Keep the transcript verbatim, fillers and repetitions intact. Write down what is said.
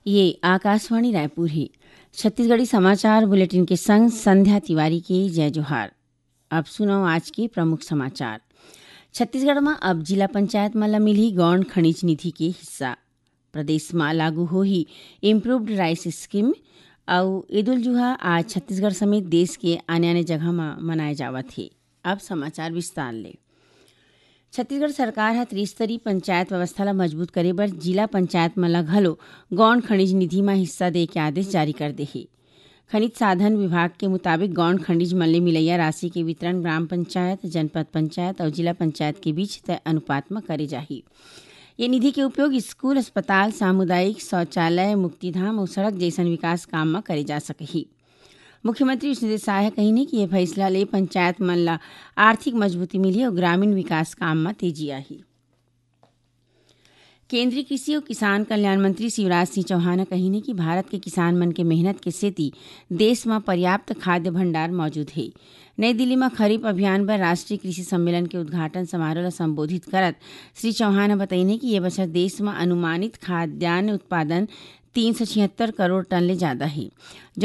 ये आकाशवाणी रायपुर हे। छत्तीसगढ़ी समाचार बुलेटिन के संग संध्या तिवारी के जय जोहार। अब सुनव आज के प्रमुख समाचार। छत्तीसगढ़ म अब जिला पंचायत मन ल मिलही गौण खनिज निधि के हिस्सा। प्रदेश म लागू होही Improved Rice Scheme। अउ ईद उल जुहा आज छत्तीसगढ़ समेत देश के आने-आने जगह म मनाए जावत हे। अब समाचार विस्तार ले। छत्तीसगढ़ सरकार ह त्रिस्तरीय पंचायत व्यवस्था ल मजबूत करे बर जिला पंचायत मन ल घलो गौण खनिज निधि म हिस्सा दे के आदेश जारी कर दे हे। खनिज साधन विभाग के मुताबिक गौण खनिज मन ले मिलैया राशि के वितरण ग्राम पंचायत, जनपद पंचायत अउ जिला पंचायत के बीच तय अनुपात म करे जाही। ये निधि के उपयोग स्कूल, अस्पताल, सामुदायिक शौचालय, मुक्तिधाम अउ सड़क जैसन विकास काम म करे जा सकही। मुख्यमंत्री विष्णुदेव साय ह कहिन हे कि ये फैसला ले पंचायत मन ल आर्थिक मजबूती मिलही अउ ग्रामीण विकास काम म तेजी आही। केंद्रीय कृषि अउ किसान कल्याण मंत्री शिवराज सिंह चौहान ह कहिन हे कि भारत के किसान मन के मेहनत के सेती देश म पर्याप्त खाद्य भंडार मौजूद हे। नई दिल्ली म खरीफ अभियान बर राष्ट्रीय कृषि सम्मेलन के उद्घाटन समारोह ल संबोधित करत श्री चौहान ह बतईन हे कि ये बछर देश म अनुमानित खाद्यान्न उत्पादन तीन सौ छिहत्तर करोड़ टन ले जादा हे, जो